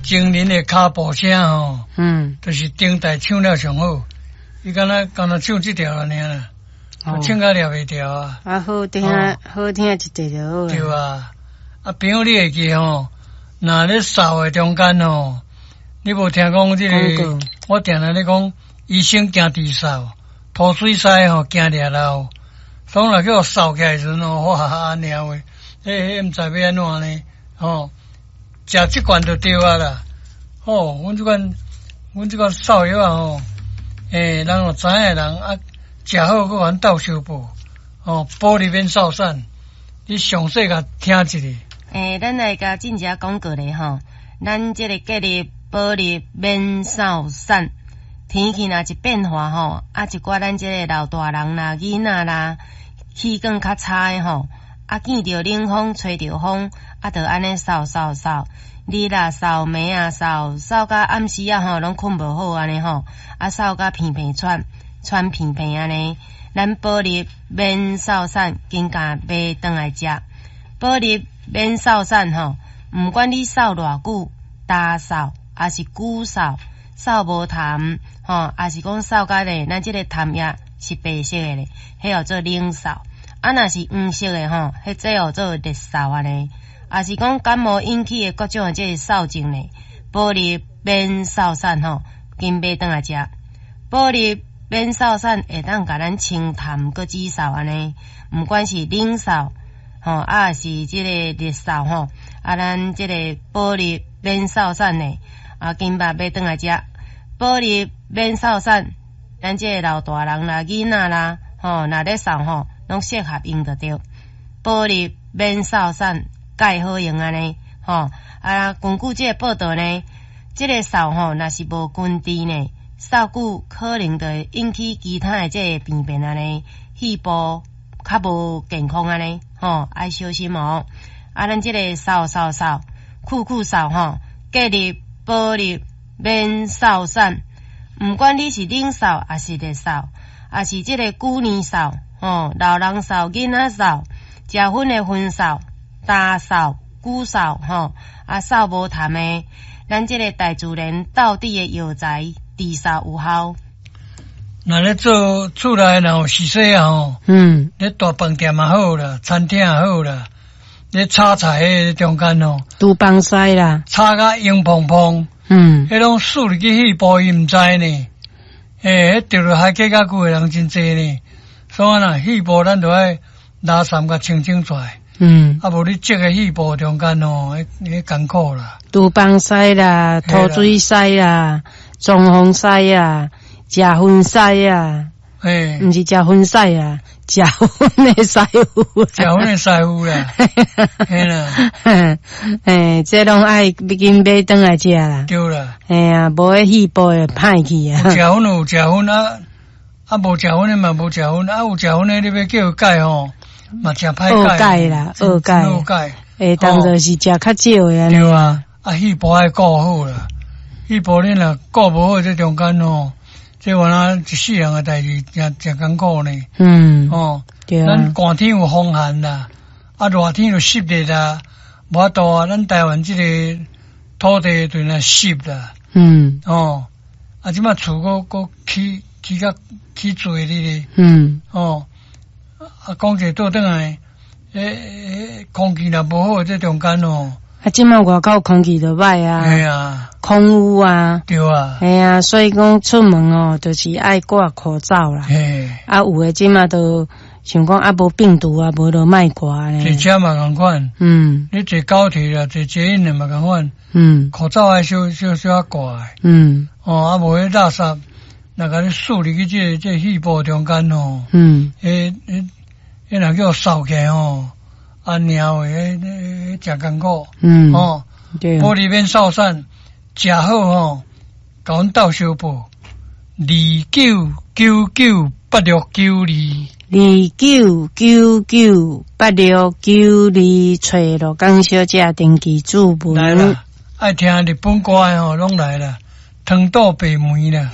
精靈的跤步聲吼，就是頂台唱了上好。伊敢若敢若唱這條爾啦，唱甲掠袂牢啊。啊，好聽，好聽一個就好。對啊，啊朋友你會記吼？若咧掃的中間吼，你無聽講這個？我定定咧講，醫生驚治掃，塗水師吼驚掠漏。所以若叫掃起來時陣吼，哇按呢話，彼毋知欲按怎呢？吼，食這罐就對啊啦。吼，阮這款掃藥啊吼，欸，人若知影的人啊，食好閣予阮鬥相報，吼，保利免掃散，你詳細共聽一下。欸，咱來共進一下廣告咧吼，咱這個建立保利免掃散，天氣若一變化吼，啊一寡咱這個老大人啦、囡仔啦，氣管較差的吼，啊見著冷風、吹著風，啊就按呢掃掃掃，日啦掃，暝啊掃，掃到暗時啊吼，攏睏無好按呢吼，啊掃甲鼻鼻喘，喘鼻鼻按呢，咱保利免掃散，緊共買轉來食。保利免掃散吼，毋管你掃偌久，焦嗽，抑是久嗽，嗽無痰吼，抑是講嗽甲咧，咱這個痰液是白色的咧，彼叫做冷嗽。啊，若是黃色的吼，彼這叫做熱嗽按呢。抑是講感冒引起的各種的這個嗽症咧，保利免掃散吼，緊買轉來食。保利免掃散會當共咱清痰閣止嗽按呢，毋管是冷嗽吼，啊是這個熱嗽吼，啊咱這個保利免掃散呢，啊緊把買轉來食。保利免掃散，咱這個老大人啦、囡仔啦，吼，若咧嗽吼，攏適合用就對。保利免掃散，蓋好用按呢，吼啊，根據這個報道呢，這個嗽吼，若是無根治呢，嗽久可能就會引起其他的這個病變按呢，肺部較無健康按呢，吼，愛小心哦。啊，咱這個掃掃掃，久久掃吼，建立保利免掃散，毋管你是冷嗽，抑是熱嗽，抑是這個久年嗽，吼，老人嗽、囡仔嗽，食薰的薰嗽、焦嗽、久嗽，吼，啊嗽無痰的，咱這個大自然道地的藥材治嗽有效。若咧做厝內若有時勢啊吼，咧大飯店也好啦，餐廳也好啦，咧炒菜彼中間吼，廚房師啦，炒甲黃膨膨，彼攏輸入去肺部伊毋知呢，欸，彼著落海底較久的人真濟呢，所以啊，肺部咱著愛垃圾共清清出來，啊無你積佇肺部中間吼，彼艱苦啦。廚房師啦，塗水師啦，裝潢師啊，食薰師啊，毋是食薰師啊，食薰的師傅，食薰的師傅啦，嘿啦，嘿，這攏愛緊買轉來食啦，對啦，嘿啊，無彼肺部會歹去啊。有食薰有食薰啊，啊無食薰的嘛無食薰，啊有食薰的你欲叫伊戒吼，嘛誠歹戒啦，學戒，學戒，會當做是食較少的。對啊，啊肺部愛顧好啦，肺部你若顧無好，這中間吼，這原來一世人的代誌，誠誠艱苦呢。哦，對啊。咱寒天有風寒啦，啊熱天有濕熱啦，無法度啊。咱台灣這個土地對那濕啦。哦，啊這擺厝閣閣起起較起濟哩咧。哦，啊講者倒轉來，欸空氣若無好，這中間哦。啊，這擺外口空氣就歹啊。嘿啊。空污啊。對啊。嘿啊，所以講出門哦，就是愛掛口罩啦。嘿。啊，有的這擺都想講啊，無病毒啊，無就莫掛咧。坐車嘛仝款。你坐高鐵啦，坐捷運的嘛仝款。口罩愛小小小可掛的。哦，啊，無彼垃圾，若共你輸入去這個肺部中間吼。彼彼彼若叫掃起來吼，按呢話，彼彼誠艱苦。哦。對。保利免掃散，食好吼，共阮鬥相報，29998692。29998692，揣羅江小姐登記注文。來啦，愛聽日本歌的吼，攏來啦，湯肚白梅啦。